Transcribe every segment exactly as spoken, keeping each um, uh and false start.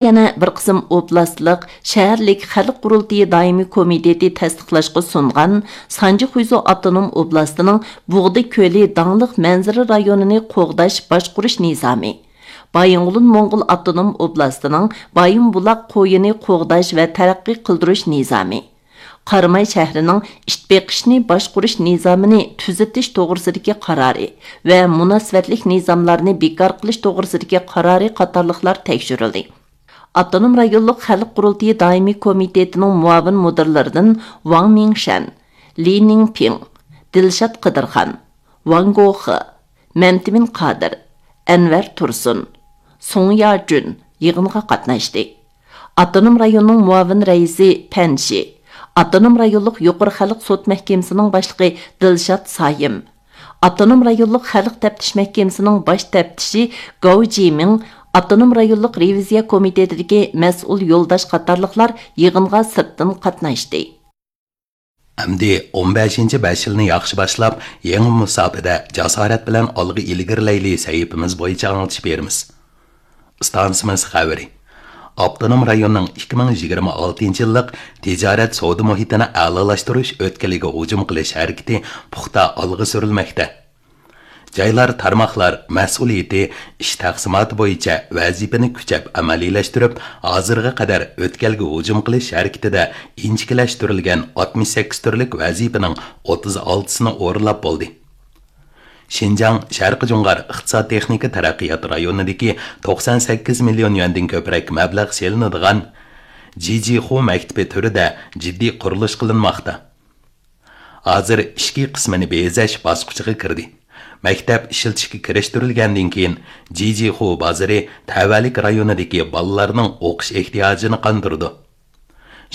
يەنە بىر قىسىم ئوبلاستلىق، شەھەرلىك خەلق قۇرۇلتىيى دائىمىي كومىتېتى تەستىقلاشقا سۇنغان سانجى خۇيزۇ ئاپتونوم ئوبلاستىنىڭ بۇغدا كۆلى داڭلىق مەنزىرە رايونىنى قوغداش باشقۇرۇش نىزامى، بايىنغولىن موڭغۇل ئاپتونوم ئوبلاستىنىڭ بايىنبۇلاق قويىنى قوغداش ۋە تەرەققىي قىلدۇرۇش نىزامى، قاراماي شەھىرىنىڭ ئىت بېقىشنى باشقۇرۇش نىزامىنى تۈزىتىش توغرىسىدىكى قارارى ۋە مۇناسىۋەتلىك نىزاملارنى بىكار قىلىش توغرىسىدىكى قارارى قاتارلىقلار تەكشۈرۈلدى. ئاپتونوم رايونلۇق خەلق قۇرۇلتىيى دائىمىي كومىتېتىنىڭ مۇئاۋىن مۇدىرلىرىدىن ۋاڭ مىڭشەن، لى نىڭپىڭ، دىلشات قىدىرخان، ۋاڭ گوخې، مەمتىمىن قادىر، ئەنۋەر تۇرسۇن، سۇڭ ياجۈن يىغىنغا قاتناشتى. ئاپتونوم رايوننىڭ مۇئاۋىن رەئىسى پەن شى، ئاپتونوم رايونلۇق يۇقىرى خەلق سوت مەھكىمىسىنىڭ باشلىقى دىلشات سايىم، ئاپتونوم رايونلۇق خەلق تەپتىش مەھكىمىسىنىڭ باش تەپتىشى گاۋ جىمىڭ، ئاپتونوم رايونلۇق رېۋىزىيە كومىتېتىدىكى مەسئۇل يولداش قاتارلىقلار يىغىنغا سىرتتىن قاتناشتى. ئەمدى ئون بەشىنچى بەش يىلنى ياخشى باشلاپ، يېڭى مۇساپىدە جاسارەت بىلەن ئالغا ئىلگىرىلەيلى سەھىپىمىز بويىچە ئاڭلىتىش بېرىمىز. ئىستانسىمىز خەۋىرى. ئاپتونوم رايوننىڭ ئىككى مىڭ يىگىرمە ئالتىنچى يىللىق تىجارەت سودا مۇھىتىنى ئەلالاشتۇرۇش ئۆتكىلىگە ھۇجۇم قىلىش ھەرىكىتى پۇختا ئالغا سۈرۈلمەكتە. جايلار، تارماقلار مەسئۇلىيىتى، ئىش تەقسىماتى بويىچە ۋەزىپىنى كۈچەپ ئەمەلىيلەشتۈرۈپ، ھازىرغا قەدەر ئۆتكەلگە ھۇجۇم قىلىش ھەرىكىتىدە ئىنچىكىلەشتۈرۈلگەن ئاتمىش سەككىز تۈرلۈك ۋەزىپىنىڭ ئوتتۇز ئالتىسىنى ئورۇنلاپ بولدى. شىنجاڭ شەرقىي جۇڭغار ئىقتىساد تېخنىكا تەرەققىيات رايونىدىكى توقسان سەككىز مىليون يۈەندىن كۆپرەك مەبلەغ سېلىنىدىغان جىجىخۇ مەكتىپى تۈرىدە جىددىي قۇرۇلۇش قىلىنماقتا. ھازىر ئىچكى قىسمىنى بېزەش باسقۇچىغا كىردى. مەكتەپ ئىشلىتىشكە كىرىشتۈرۈلگەندىن كېيىن، جىجىخۇ بازىرى تەۋەلىك رايونىدىكى بالىلارنىڭ ئوقۇش ئېھتىياجىنى قاندۇرىدۇ.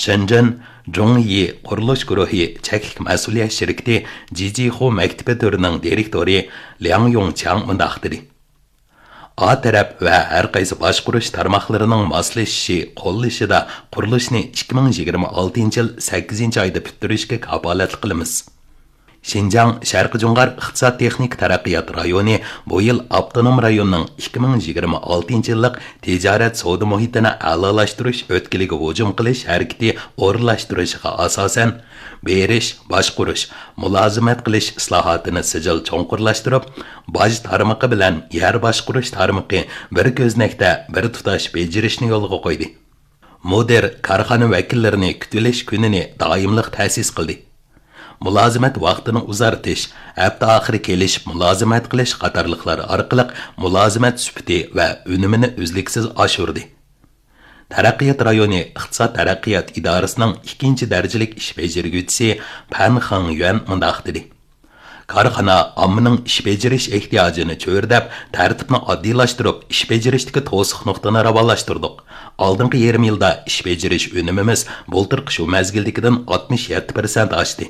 شېنجېن جۇڭيى قۇرۇلۇش گۇرۇھى چەكلىك مەسئۇلىيەت شىركىتى جىجىخۇ مەكتىپى تۈرىنىڭ دىرېكتورى لياڭ يۇڭچياڭ مۇنداق دېدى. ئا تەرەپ ۋە ھەر قايسى باشقۇرۇش تارماقلىرىنىڭ ماسلىشىشى، قوللىشىدا قۇرۇلۇشنى ئىككى مىڭ يىگىرمە ئالتىنچى يىل سەككىزىنچى ئايدا پۈتتۈرۈشكە كاپالەتلىك قىلىمىز. شىنجاڭ شەرقىي جۇڭغار ئىقتىساد تېخنىكا تەرەققىيات رايونى بۇ يىل ئاپتونوم رايوننىڭ ئىككى مىڭ يىگىرمە ئالتىنچى يىللىق تىجارەت سودا مۇھىتىنى ئەلالاشتۇرۇش ئۆتكىلىگە ھۇجۇم قىلىش ھەرىكىتى ئورۇنلاشتۇرۇشىغا ئاساسەن، بېرىش، باشقۇرۇش، مۇلازىمەت قىلىش ئىسلاھاتىنى سىجىل چوڭقۇرلاشتۇرۇپ، باج تارمىقى بىلەن يەر باشقۇرۇش تارمىقى بىر كۆزنەكتە بىر تۇتاش بېجىرىشنى يولغا قويدى. مۇدىر كارخانا ۋەكىللىرىنى كۈتۈۋېلىش كۈنىنى دائىملىق تەسىس قىلدى. مۇلازىمەت ۋاقتىنى ئۇزارتىش، ھەپتە ئاخىرى كېلىشىپ مۇلازىمەت قىلىش قاتارلىقلار ئارقىلىق مۇلازىمەت سۈپىتى ۋە ئۈنۈمىنى ئۈزلۈكسىز ئاشۇردى. تەرەققىيات رايونى ئىقتىساد تەرەققىيات ئىدارىسىنىڭ ئىككىنچى دەرىجىلىك ئىش بېجىرگۈچىسى پەن خېڭيۈەن مۇنداق دېدى: كارخانا ئاممىنىڭ ئىش بېجىرىش ئېھتىياجىنى چۆرىدەپ، تەرتىپنى ئاددىيلاشتۇرۇپ، ئىش بېجىرىشتىكى توسۇق نۇقتىنى راۋانلاشتۇردۇق. ئالدىنقى يېرىم يىلدا ئىش بېجىرىش ئۈنۈمىمىز بۇلتۇرقى شۇ مەزگىلدىكىدىن ئاتمىش يەتتە پىرسەنت ئاشتى.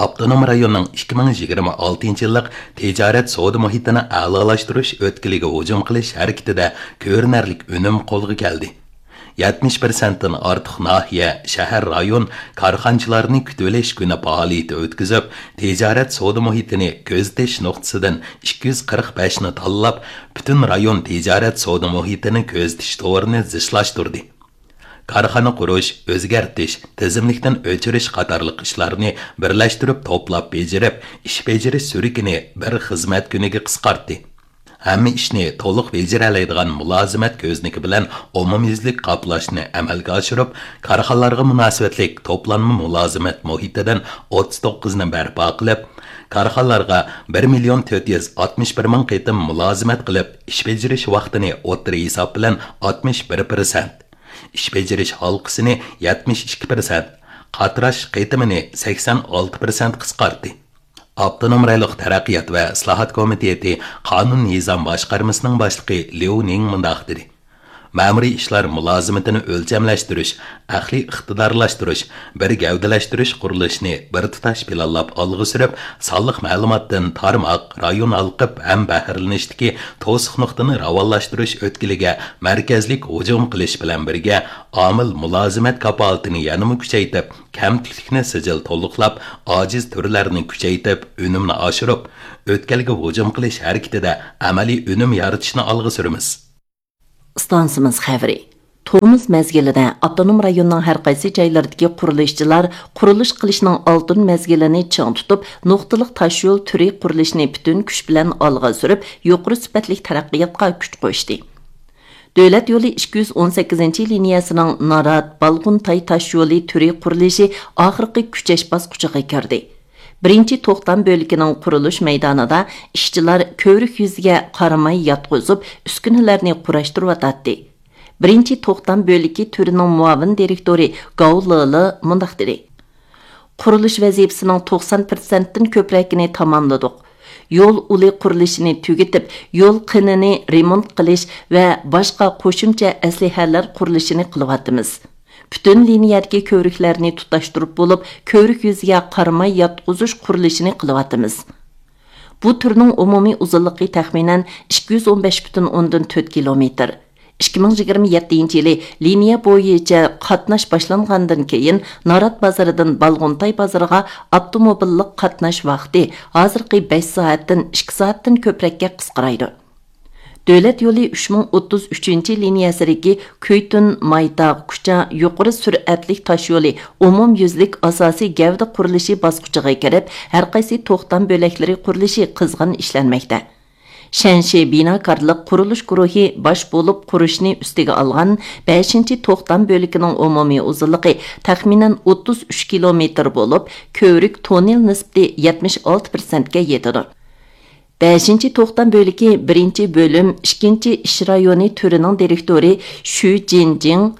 ئاپتونوم رايوننىڭ ئىككى مىڭ يىگىرمە ئالتىنچى يىللىق تىجارەت سودا مۇھىتىنى ئەلالاشتۇرۇش ئۆتكىلىگە ھۇجۇم قىلىش ھەرىكىتىدە كۆرۈنەرلىك ئۈنۈم قولغا كەلدى. يەتمىش پىرسەنتتىن ئارتۇق ناھىيە، شەھەر، رايون كارخانىچىلارنى كۈتۈۋېلىش كۈنى پائالىيىتى ئۆتكۈزۈپ، تىجارەت سودا مۇھىتىنى كۆزىتىش نۇقتىسىدىن ئىككى يۈز قىرىق بەشنى تاللاپ، پۈتۈن رايون تىجارەت سودا مۇھىتىنى كۆزىتىش تورىنى زىچلاشتۇردى. كارخانا قۇرۇش، ئۆزگەرتىش، تىزىملىكتىن ئۆچۈرۈش قاتارلىق ئىشلارنى بىرلەشتۈرۈپ توپلاپ بېجىرىپ، ئىش بېجىرىش سۈرۈكىنى بىر خىزمەت كۈنىگە قىسقارتتى. ھەممە ئىشنى تولۇق بېجىرەلەيدىغان مۇلازىمەت كۆزنىكى بىلەن ئومۇميۈزلۈك قاپلاشنى ئەمەلگە ئاشۇرۇپ، كارخانىلارغا مۇناسىۋەتلىك توپلانما مۇلازىمەت مۇھىتىدىن ئوتتۇز توققۇزنى بەرپا قىلىپ، كارخانىلارغا بىر مىليون تۆت يۈز ئاتمىش بىر مىڭ قېتىم مۇلازىمەت قىلىپ، ئىش بېجىرىش ۋاقتىنى ئوتتۇرا ھېساب بىلەن ئاتمىش بىر پىرسەنت، ئىش بېجىرىش ھالقىسىنى يەتمىش ئىككى پىرسەنت، قاتراش قېتىمىنى سەكسەن ئالتە پىرسەنت قىسقارتتى. ئاپتونوم رايونلۇق تەرەققىيات ۋە ئىسلاھات كومىتېتى قانۇن نىزام باشقارمىسىنىڭ باشلىقى ليۇ نىڭ مۇنداق دېدى: مەمۇرىي ئىشلار مۇلازىمىتىنى ئۆلچەملەشتۈرۈش، ئەقلىي ئىقتىدارلاشتۇرۇش، بىر گەۋدىلەشتۈرۈش قۇرۇلۇشىنى بىر تۇتاش پىلانلاپ ئالغا سۈرۈپ، سانلىق مەلۇماتتىن تارماق، رايون ھالقىپ ھەم بەھرىلىنىشتىكى توسۇق نۇقتىنى راۋانلاشتۇرۇش ئۆتكىلىگە مەركەزلىك ھۇجۇم قىلىش بىلەن بىرگە، ئامىل مۇلازىمەت كاپالىتىنى يەنىمۇ كۈچەيتىپ، كەمتۈكلۈكنى سىجىل تولۇقلاپ، ئاجىز تۈرلەرنى كۈچەيتىپ، ئۈنۈمنى ئاشۇرۇپ، ئۆتكەلگە ھۇجۇم قىلىش ھەرىكىتىدە ئەمەلىي ئۈنۈم يارىتىشنى ئالغا سۈرىمىز. ئىستانسىمىز خەۋىرى. تومۇز مەزگىلىدە ئاپتونوم رايوننىڭ ھەر قايسى جايلىرىدىكى قۇرۇلۇشچىلار قۇرۇلۇش قىلىشنىڭ ئالتۇن مەزگىلىنى چىڭ تۇتۇپ، نۇقتىلىق تاشيول تۈرى قۇرۇلۇشىنى پۈتۈن كۈچ بىلەن ئالغا سۈرۈپ، يۇقىرى سۈپەتلىك تەرەققىياتقا كۈچ قوشتى. دۆلەت يولى ئىككى يۈز ئون سەككىزىنچى لىنىيەسىنىڭ نارات، بالغۇنتاي تاشيولى تۈرى قۇرۇلۇشى ئاخىرقى كۈچەش باسقۇچىغا كىردى. بىرىنچى توختام بۆلىكىنىڭ قۇرۇلۇش مەيدانىدا ئىشچىلار كۆۋرۈك يۈزىگە قارىماي ياتقۇزۇپ، ئۈسكۈنىلەرنى قۇراشتۇرۇۋاتاتتى. بىرىنچى توختام بۆلىكى تۈرىنىڭ مۇئاۋىن دىرېكتورى گاۋ لېلې مۇنداق دېدى: قۇرۇلۇش ۋەزىپىسىنىڭ توقسان پىرسەنتتىن كۆپرەكىنى تاماملىدۇق. يول ئۇلى قۇرۇلۇشىنى تۈگىتىپ، يول قىنىنى رېمونت قىلىش ۋە باشقا قوشۇمچە ئەسلىھەلەر قۇرۇلۇشىنى قىلىۋاتىمىز. پۈتۈن لىنىيەدىكى كۆۋرۈكلەرنى تۇتاشتۇرۇپ بولۇپ، كۆۋرۈك يۈزىگە قارىماي ياتقۇزۇش قۇرۇلۇشىنى قىلىۋاتىمىز. بۇ تۈرنىڭ ئومۇمىي ئۇزۇنلۇقى تەخمىنەن ئىككى يۈز ئون بەش پۈتۈن ئوندىن تۆت كىلومېتىر. ئىككى مىڭ يىگىرمە يەتتىنچى يىلى لىنىيە بويىچە قاتناش باشلانغاندىن كېيىن، نارات بازىرىدىن بالغۇنتاي بازىرىغا ئاپتوموبىللىق قاتناش ۋاقتى ھازىرقى بەش سائەتتىن ئىككى سائەتتىن كۆپرەككە قىسقىرايدۇ. دۆلەت يولى ئۈچ مىڭ ئوتتۇز ئۈچىنچى لىنىيەسىدىكى كۈيتۈن مايتاغ كۇچا يۇقىرى سۈرئەتلىك تاشيولى ئومۇميۈزلۈك ئاساسىي گەۋدە قۇرۇلۇشى باسقۇچىغا كىرىپ، ھەرقايسى توختام بۆلەكلىرى قۇرۇلۇشى قىزغىن ئىشلەنمەكتە. شەنشى بىناكارلىق قۇرۇلۇش گۇرۇھى باش بولۇپ قۇرۇشنى ئۈستىگە ئالغان بەشىنچى توختام بۆلىكىنىڭ ئومۇمىي ئۇزۇنلۇقى تەخمىنەن ئوتتۇز ئۈچ كىلومېتىر بولۇپ، كۆۋرۈك توننېل نىسبىتى يەتمىش ئالتە پىرسەنتكە يېتىدۇ. بەشىنچى توختام بۆلىكى بىرىنچى بۆلۈم ئىككىنچى ئىش رايونى تۈرىنىڭ دىرېكتورى شۈ جىنجىڭ،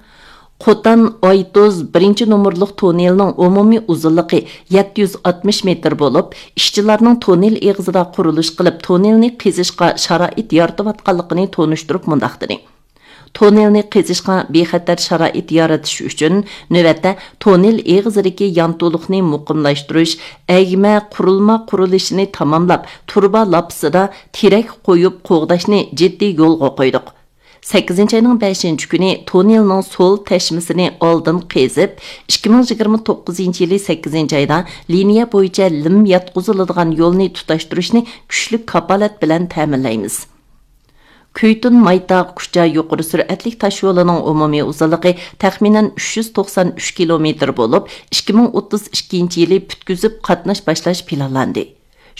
قوتان ئايتۇز بىرىنچى نومۇرلۇق توننېلنىڭ ئومۇمىي ئۇزۇنلۇقى يەتتە يۈز ئاتمىش مېتىر بولۇپ، ئىشچىلارنىڭ توننېل ئېغىزىدا قۇرۇلۇش قىلىپ، توننېلنى قېزىشقا شارائىت يارىتىۋاتقانلىقىنى تونۇشتۇرۇپ مۇنداق دېدى: توننېلنى قېزىشقا بىخەتەر شارائىت يارىتىش ئۈچۈن، نۆۋەتتە توننېل ئېغىزىدىكى يانتۇلۇقنى مۇقىملاشتۇرۇش، ئەگمە قۇرۇلما قۇرۇلۇشىنى تاماملاپ، تۇرۇبا لاپىسىدا تېرەك قويۇپ قوغداشنى جىددىي يولغا قويدۇق. سەككىزىنچى ئاينىڭ بەشىنچى كۈنى توننېلنىڭ سول تەشمىسىنى ئالدىن قېزىپ، ئىككى مىڭ يىگىرمە توققۇزىنچى يىلى سەككىزىنچى ئايدا لىنىيە بويىچە لىم ياتقۇزۇلىدىغان يولنى تۇتاشتۇرۇشنى كۈچلۈك كاپالەت بىلەن تەمىنلەيمىز. كۈيتۈن مايتاغ كۇچا يۇقىرى سۈرئەتلىك تاشيولىنىڭ ئومۇمىي ئۇزۇنلۇقى تەخمىنەن ئۈچ يۈز توقسان ئۈچ كىلومېتىر بولۇپ، ئىككى مىڭ ئوتتۇز ئىككىنچى يىلى پۈتكۈزۈپ قاتناش باشلاش پىلانلاندى.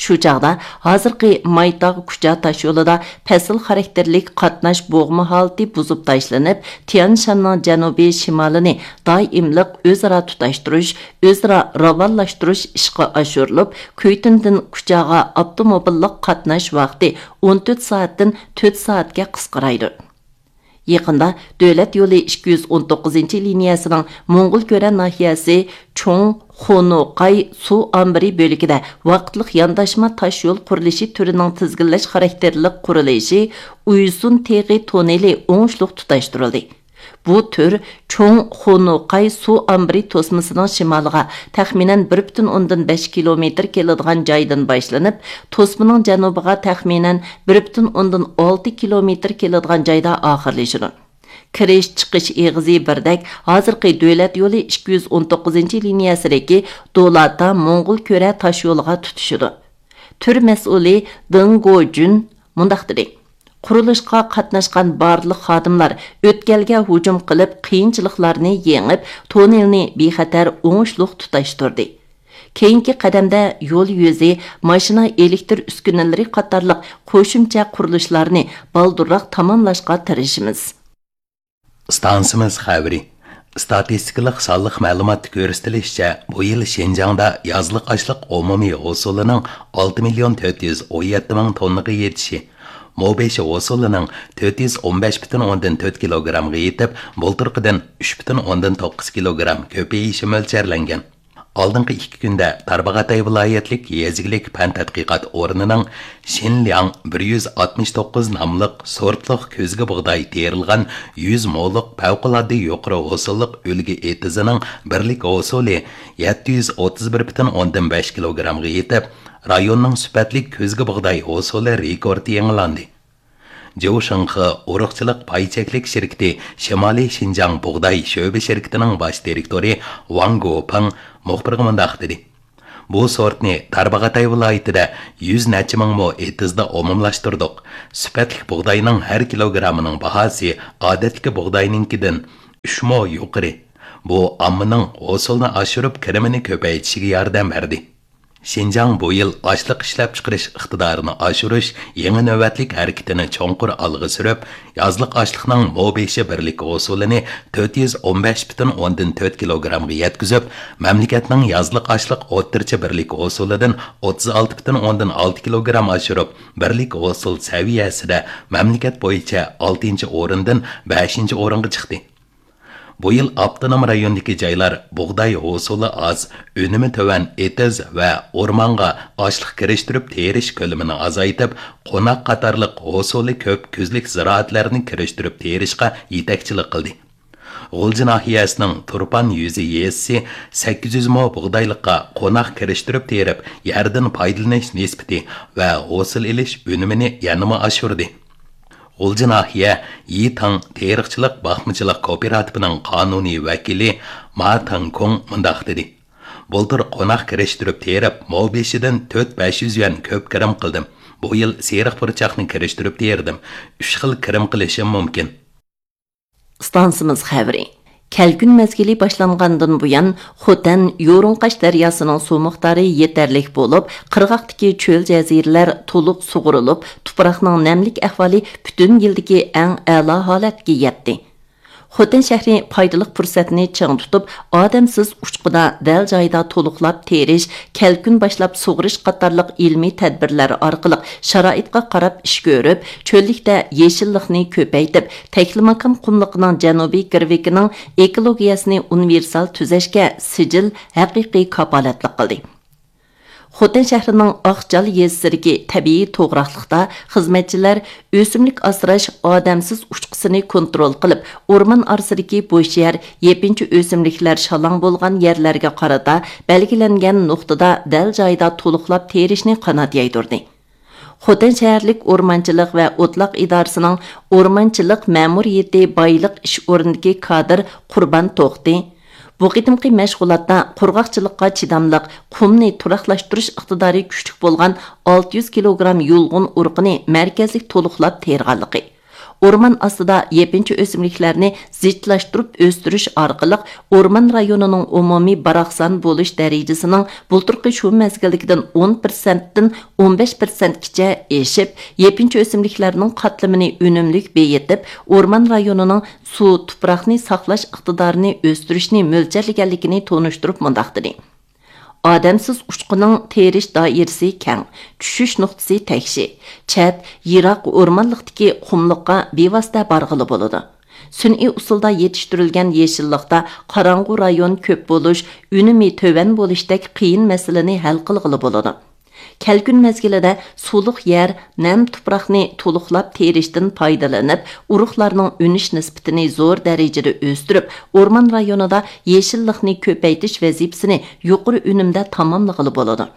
شۇ چاغدا ھازىرقى مايتاغ كۇچا تاشيولىدا پەسىل خاراكتېرلىك قاتناش بوغما ھالىتى بۇزۇپ تاشلىنىپ، تيەنشاننىڭ جەنۇبىي شىمالىنى دائىملىق ئۆزئارا تۇتاشتۇرۇش، ئۆزئارا راۋانلاشتۇرۇش ئىشقا ئاشۇرۇلۇپ، كۈيتۈندىن كۇچاغا ئاپتوموبىللىق قاتناش ۋاقتى ئون تۆت سائەتتىن تۆت سائەتكە قىسقىرايدۇ. يېقىندا دۆلەت يولى ئىككى يۈز ئون توققۇزىنچى لىنىيەسىنىڭ موڭغۇلكۆرە ناھىيەسى چوڭ خونۇقاي سۇ ئامبىرى بۆلىكىدە ۋاقىتلىق يانداشما تاشيول قۇرۇلۇشى تۈرىنىڭ تىزگىنلەش خاراكتېرلىك قۇرۇلۇشى ئۇيسۇن تېغى توننېلى ئوڭۇشلۇق تۇتاشتۇرۇلدى. بۇ تۈر چوڭ خونۇقاي سۇ ئامبىرى توسمىسىنىڭ شىمالىغا تەخمىنەن بىر پۈتۈن ئوندىن بەش كىلومېتىر كېلىدىغان جايدىن باشلىنىپ، توسمىنىڭ جەنۇبىغا تەخمىنەن بىر پۈتۈن ئوندىن ئالتە كىلومېتىر كېلىدىغان جايدا ئاخىرلىشىدۇ. كىرىش، چىقىش ئېغىزى بىردەك ھازىرقى دۆلەت يولى ئىككى يۈز ئون توققۇزىنچى لىنىيەسىدىكى دولاتا موڭغۇلكۆرە تاشيولىغا تۇتىشىدۇ. تۈر مەسئۇلى دېڭ گوجۈن مۇنداق دېدى: قۇرۇلۇشقا قاتناشقان بارلىق خادىملار ئۆتكەلگە ھۇجۇم قىلىپ، قىيىنچىلىقلارنى يېڭىپ، توننېلنى بىخەتەر، ئوڭۇشلۇق تۇتاشتۇردى. كېيىنكى قەدەمدە يول يۈزى، ماشىنا ئېلېكتىر ئۈسكۈنىلىرى قاتارلىق قوشۇمچە قۇرۇلۇشلارنى بالدۇرراق تاماملاشقا تىرىشىمىز. ئىستانسىمىز خەۋىرى. ئىستاتىستىكىلىق سانلىق مەلۇماتتا كۆرسىتىلىشىچە، بۇ يىل شىنجاڭدا يازلىق ئاشلىق ئومۇمىي ھوسۇلىنىڭ ئالتە مىليون تۆت يۈز ئون يەتتە مىڭ توننىغا يېتىشى، مو بېشى ھوسۇلىنىڭ تۆت يۈز ئون بەش پۈتۈن ئوندىن تۆت كىلوگرامغا يېتىپ، بۇلتۇرقىدىن ئۈچ پۈتۈن ئوندىن توققۇز كىلوگرام كۆپىيىشى مۆلچەرلەنگەن. ئالدىنقى ئىككى كۈندە تارباغاتاي ۋىلايەتلىك يېزا ئىگىلىك پەن تەتقىقات ئورنىنىڭ شىنلياڭ بىر يۈز ئاتمىش توققۇز ناملىق سورتلۇق كۆزگە بۇغداي تېرىلغان يۈز مولۇق پەۋقۇلئاددە يۇقىرى ھوسۇللۇق ئۈلگە ئېتىزىنىڭ بىرلىك ھوسۇلى يەتتە يۈز ئوتتۇز بىر پۈتۈن ئوندىن بەش كىلوگرامغا يېتىپ، رايوننىڭ سۈپەتلىك كۆزگە بۇغداي ھوسۇلى رېكورتى يېڭىلاندى. جيۇ شېڭخې ئۇرۇقچىلىق پاي چەكلىك شىركىتى شىمالىي شىنجاڭ بۇغداي شۆبە شىركىتىنىڭ باش دىرېكتورى ۋاڭ گوپېڭ مۇخبىرغا مۇنداق دېدى: بۇ سورتنى تارباغاتاي ۋىلايىتىدە يۈز نەچچە مىڭ مو ئېتىزدا ئومۇملاشتۇردۇق. سۈپەتلىك بۇغداينىڭ ھەر كىلوگرامىنىڭ باھاسى ئادەتتىكى بۇغداينىڭكىدىن ئۈچ مو يۇقىرى. بۇ ئاممىنىڭ ھوسۇلنى ئاشۇرۇپ، كىرىمىنى كۆپەيتىشىگە ياردەم بەردى. شىنجاڭ بۇ يىل ئاشلىق ئىشلەپچىقىرىش ئىقتىدارىنى ئاشۇرۇش يېڭى نۆۋەتلىك ھەرىكىتىنى چوڭقۇر ئالغا سۈرۈپ، يازلىق ئاشلىقنىڭ مو بېشى بىرلىك ھوسۇلىنى تۆت يۈز ئون بەش پۈتۈن ئوندىن تۆت كىلوگرامغا يەتكۈزۈپ، مەملىكەتنىڭ يازلىق ئاشلىق ئوتتۇرىچە بىرلىك ھوسۇلىدىن ئوتتۇز ئالتە پۈتۈن ئوندىن ئالتە كىلوگرام ئاشۇرۇپ، بىرلىك ھوسۇل سەۋىيەسىدە مەملىكەت بويىچە ئالتىنچى ئورۇندىن بەشىنچى ئورۇنغا چىقتى. بۇ يىل ئاپتونوم رايوندىكى جايلار بۇغداي ھوسۇلى ئاز، ئۈنۈمى تۆۋەن ئېتىز ۋە ئورمانغا ئاشلىق كىرىشتۈرۈپ تېرىش كۆلىمىنى ئازايتىپ، قوناق قاتارلىق ھوسۇلى كۆپ كۈزلۈك زىرائەتلەرنى كىرىشتۈرۈپ تېرىشقا يېتەكچىلىك قىلدى. غۇلجا ناھىيەسىنىڭ تۇرپان يۈزى يېزىسى سەككىز يۈز مو بۇغدايلىققا قوناق كىرىشتۈرۈپ تېرىپ، يەردىن پايدىلىنىش نىسبىتى ۋە ھوسۇل ئېلىش ئۈنۈمىنى يەنىمۇ ئاشۇردى. غۇلجا ناھىيە يىتاڭ تېرىقچىلىق باقمىچىلىق كوپىراتىپىنىڭ قانۇنىي ۋەكىلى ما تاڭكۇڭ مۇنداق دېدى: بۇلتۇر قوناق كىرىشتۈرۈپ تېرىپ، مو بېشىدىن تۆت بەش يۈز يۈەن كۆپ كىرىم قىلدىم. بۇ يىل سېرىق پۇرچاقنى كىرىشتۈرۈپ تېرىدىم. ئۈچ خىل كىرىم قىلىشىم مۇمكىن. ئىستانسىمىز خەۋىرى. كەلكۈن مەزگىلى باشلانغاندىن بۇيان، خوتەن يورۇڭقاش دەرياسىنىڭ سۇ مىقدارى يېتەرلىك بولۇپ، قىرغاقتىكى چۆل جەزىرىلەر تولۇق سۇغۇرۇلۇپ، تۇپراقنىڭ نەملىك ئەھۋالى پۈتۈن يىلدىكى ئەڭ ئەلا ھالەتكە يەتتى. خوتەن شەھىرى پايدىلىق پۇرسەتنى چىڭ تۇتۇپ، ئادەمسىز ئۇچقۇدا دەل جايىدا تولۇقلاپ تېرىش، كەلكۈن باشلاپ سۇغىرىش قاتارلىق ئىلمىي تەدبىرلەر ئارقىلىق شارائىتقا قاراپ ئىش كۆرۈپ، چۆللۈكتە يېشىللىقنى كۆپەيتىپ، تەكلىماكان قۇملۇقىنىڭ جەنۇبىي گىرۋىكىنىڭ ئېكولوگىيەسىنى ئۇنىۋېرسال تۈزەشكە سىجىل ھەقىقىي كاپالەتلىك قىلدى. خوتەن شەھىرىنىڭ ئاقجال يېزىسىدىكى تەبىئىي توغراقلىقتا خىزمەتچىلەر ئۆسۈملۈك ئاسراش ئادەمسىز ئۇچقۇسىنى كونترول قىلىپ، ئورمان ئارىسىدىكى بوش يەر، يېپىنچا ئۆسۈملۈكلەر شالاڭ بولغان يەرلەرگە قارىتا بەلگىلەنگەن نۇقتىدا دەل جايىدا تولۇقلاپ تېرىشنى قانات يايدۇردى. خوتەن شەھەرلىك ئورمانچىلىق ۋە ئوتلاق ئىدارىسىنىڭ ئورمانچىلىق مەمۇرىيىتى بايلىق ئىش ئورنىدىكى كادىر قۇربان توختى بۇ قېتىمقى مەشغۇلاتتا قۇرغاقچىلىققا چىداملىق، قۇمنى تۇراقلاشتۇرۇش ئىقتىدارى كۈچلۈك بولغان ئالتە يۈز كىلوگرام يۇلغۇن ئۇرۇقىنى مەركەزلىك تولۇقلاپ تېرىغانلىقى، ئورمان ئاستىدا يېپىنچا ئۆسۈملۈكلەرنى زىچلاشتۇرۇپ ئۆستۈرۈش ئارقىلىق ئورمان رايونىنىڭ ئومۇمىي باراقسان بولۇش دەرىجىسىنىڭ بۇلتۇرقى شۇ مەزگىلدىكىدىن ئون پىرسەنتتىن ئون بەش پىرسەنتكىچە ئېشىپ، يېپىنچا ئۆسۈملۈكلەرنىڭ قاتلىمىنى ئۈنۈملۈك بېيىتىپ، ئورمان رايونىنىڭ سۇ، تۇپراقنى ساقلاش ئىقتىدارىنى ئۆستۈرۈشنى مۆلچەرلىگەنلىكىنى تونۇشتۇرۇپ مۇنداق دېدى: ئادەمسىز ئۇچقۇنىڭ تېرىش دائىرىسى كەڭ، چۈشۈش نۇقتىسى تەكشى، چەت، يىراق ئورمانلىقتىكى قۇملۇققا بىۋاسىتە بارغىلى بولىدۇ. سۈنئىي ئۇسۇلدا يېتىشتۈرۈلگەن يېشىللىقتا قاراڭغۇ رايون كۆپ بولۇش، ئۈنۈمى تۆۋەن بولۇشتەك قىيىن مەسىلىنى ھەل قىلغىلى بولىدۇ. كەلكۈن مەزگىلىدە سۇلۇق يەر، نەم تۇپراقنى تولۇقلاپ تېرىشتىن پايدىلىنىپ، ئۇرۇقلارنىڭ ئۈنۈش نىسبىتىنى زور دەرىجىدە ئۆستۈرۈپ، ئورمان رايونىدا يېشىللىقنى كۆپەيتىش ۋەزىپىسىنى يۇقىرى ئۈنۈمدە تاماملىغىلى بولىدۇ.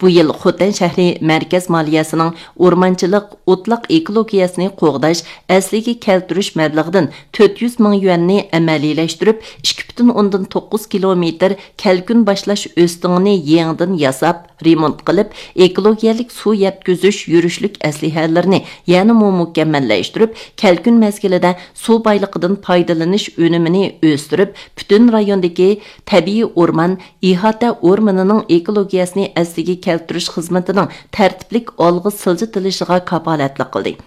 بۇ يىل خوتەن شەھىرى مەركەز مالىيەسىنىڭ ئورمانچىلىق، ئوتلاق ئېكولوگىيەسىنى قوغداش، ئەسلىگە كەلتۈرۈش مەبلىغىدىن تۆت يۈز مىڭ يۈەننى ئەمەلىيلەشتۈرۈپ، ئىككى پۈتۈن ئوندىن توققۇز كىلومېتىر كەلكۈن باشلاش ئۆستىڭىنى يېڭىدىن ياساپ، رېمونت قىلىپ، ئېكولوگىيەلىك سۇ يەتكۈزۈش يۈرۈشلۈك ئەسلىھەلىرىنى يەنىمۇ مۇكەممەللەشتۈرۈپ، كەلكۈن مەزگىلىدە سۇ بايلىقىدىن پايدىلىنىش ئۈنۈمىنى ئۆستۈرۈپ، پۈتۈن رايوندىكى تەبىئىي ئورمان، ئىھاتە ئورمىنىنىڭ ئېكولوگىيەسىنى ئەسلىگە كەلتۈرۈش خىزمىتىنىڭ تەرتىپلىك ئالغا سىلجىتىلىشىغا كاپالەتلىك قىلدى.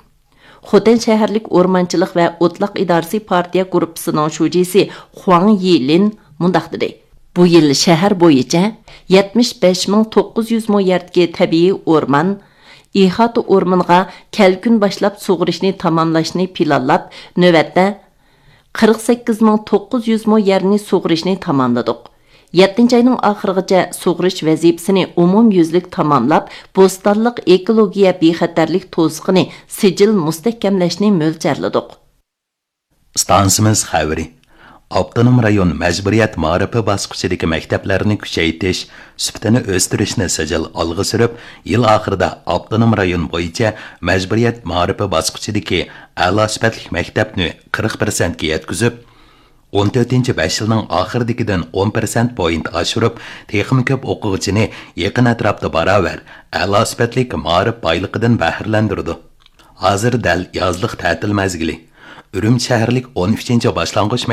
خوتەن شەھەرلىك ئورمانچىلىق ۋە ئوتلاق ئىدارىسى پارتىيە گۇرۇپپىسىنىڭ شۇجىسى خۇاڭ يىلىن مۇنداق دېدى: بۇ يىل شەھەر بويىچە يەتمىش بەش مىڭ توققۇز يۈز مو يەردىكى تەبىئىي ئورمان، ئىھاتە ئورمىنىغا كەلكۈن باشلاپ سۇغىرىشنى تاماملاشنى پىلانلاپ، نۆۋەتتە قىرىق سەككىز مىڭ توققۇز يۈز مو يەرنى سۇغىرىشنى تاماملىدۇق. يەتتىنچى ئاينىڭ ئاخىرىغىچە سۇغىرىش ۋەزىپىسىنى ئومۇميۈزلۈك تاماملاپ، بوستانلىق ئېكولوگىيە بىخەتەرلىك توسۇقىنى سىجىل مۇستەھكەملەشنى مۆلچەرلىدۇق. ئىستانسىمىز خەۋىرى. ئاپتونوم رايون مەجبۇرىيەت مائارىپى باسقۇچىدىكى مەكتەپلەرنى كۈچەيتىش، سۈپىتىنى ئۆستۈرۈشنى سىجىل ئالغا سۈرۈپ، يىل ئاخىرىدا ئاپتونوم رايون بويىچە مەجبۇرىيەت مائارىپى باسقۇچىدىكى ئەلا سۈپەتلىك مەكتەپنى قىرىق پىرسەنتكە يەتكۈزۈپ، ئون تۆتىنچى بەش يىلنىڭ ئاخىرىدىكىدىن ئون پىرسەنت پوينت ئاشۇرۇپ، تېخىمۇ كۆپ ئوقۇغۇچىنى يېقىن ئەتراپتا باراۋەر ئەلا سۈپەتلىك مائارىپ بايلىقىدىن بەھرىلەندۈرىدۇ. ھازىر دەل يازلىق تەتىل مەزگىلى. ئۈرۈمچى شەھەرلىك ئون ئۈچىنچى باشلانغۇچ